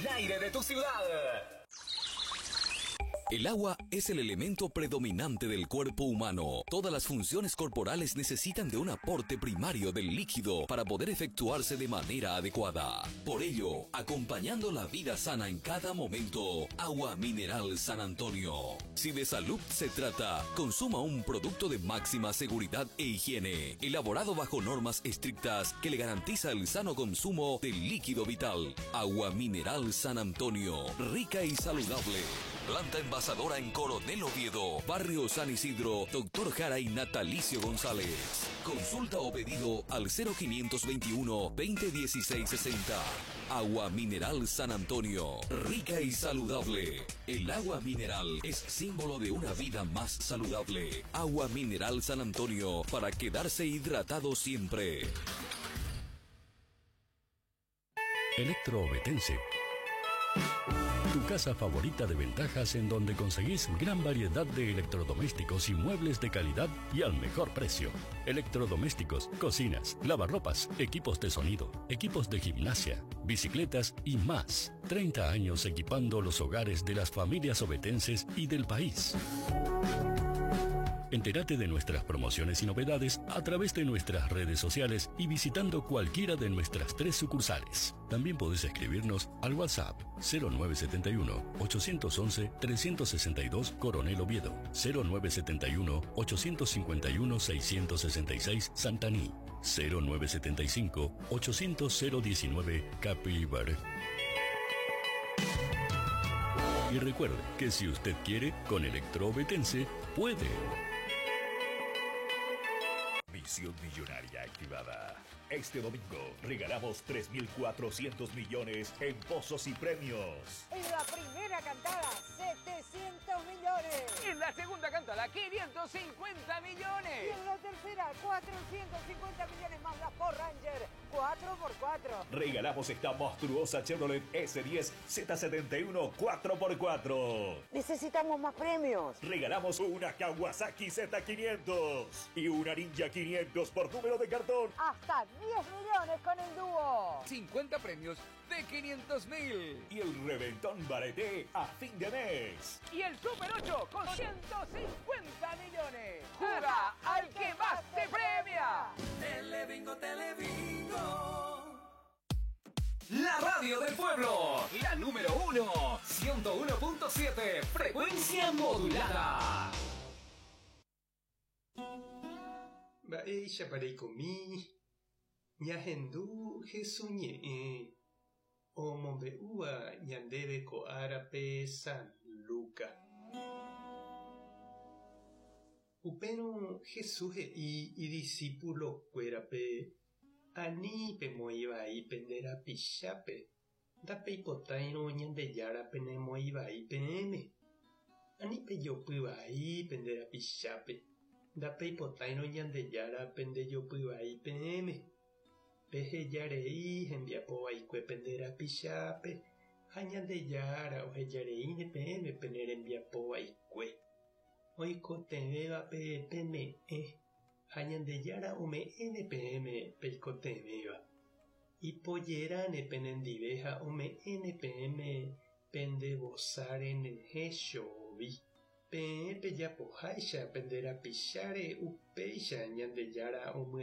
El aire de tu ciudad. El agua es el elemento predominante del cuerpo humano. Todas las funciones corporales necesitan de un aporte primario del líquido para poder efectuarse de manera adecuada. Por ello, acompañando la vida sana en cada momento, Agua Mineral San Antonio. Si de salud se trata, consuma un producto de máxima seguridad e higiene, elaborado bajo normas estrictas que le garantiza el sano consumo del líquido vital. Agua Mineral San Antonio, rica y saludable. Planta envasadora en Coronel Oviedo, Barrio San Isidro, Doctor Jara y Natalicio González. Consulta o pedido al 0521 2016 60. Agua Mineral San Antonio, rica y saludable. El agua mineral es símbolo de una vida más saludable. Agua Mineral San Antonio, para quedarse hidratado siempre. Electroobetense. Tu casa favorita de ventajas en donde conseguís gran variedad de electrodomésticos y muebles de calidad y al mejor precio. Electrodomésticos, cocinas, lavarropas, equipos de sonido, equipos de gimnasia, bicicletas y más. 30 años equipando los hogares de las familias obetenses y del país. Entérate de nuestras promociones y novedades a través de nuestras redes sociales y visitando cualquiera de nuestras tres sucursales. También podés escribirnos al WhatsApp 0971 811 362 Coronel Oviedo, 0971 851 666 Santaní, 0975 800 019 Capibar. Y recuerde que si usted quiere, con Electroobetense puede. Misión Millonaria activada. Este domingo regalamos 3.400 millones en pozos y premios. En la primera cantada, 700 millones. En la segunda cantada, 550 millones. Y en la tercera, 450 millones más la Ford Ranger 4x4. Regalamos esta monstruosa Chevrolet S10 Z71 4x4. Necesitamos más premios. Regalamos una Kawasaki Z500 y una Ninja 500 por número de cartón. Hasta 10 millones con el dúo. 50 premios de 500 mil. Y el reventón bareté a fin de mes. Y el Super 8 con 150 millones. ¡Juega al que más te premia! Telebingo, Telebingo. La radio del pueblo, la número 1, 101.7, frecuencia modulada. Mba'éichapa reikomi, ñahendu Hesu ñe'ẽ omombe'úva ñandéve ko árape San Luca. Upérõ Jesús he'i idisípulo-kuérape, Ani pemoĩ vai pende rapichápe, ndapeipotáirõ Ñandejára penemoĩ vai peẽme. Ani pejopy vai pende rapichápe, ndapeipotáirõ Ñandejára pendejopy vai peẽme. Peheja rei hembiapo vaikue pende rapichápe, ha Ñandejára oheja reíne peẽme pene rembiapo vaikue. Oikotevẽvape peme'ẽ, ha Ñandejára ome'ẽne peẽme peikotevẽva. Ipojeráne penendive ha ome'ẽne peẽme pende vosa renyhẽ chovi. Peẽ pejapoháicha pende rapicháre upéicha Ñandejára omyesakã.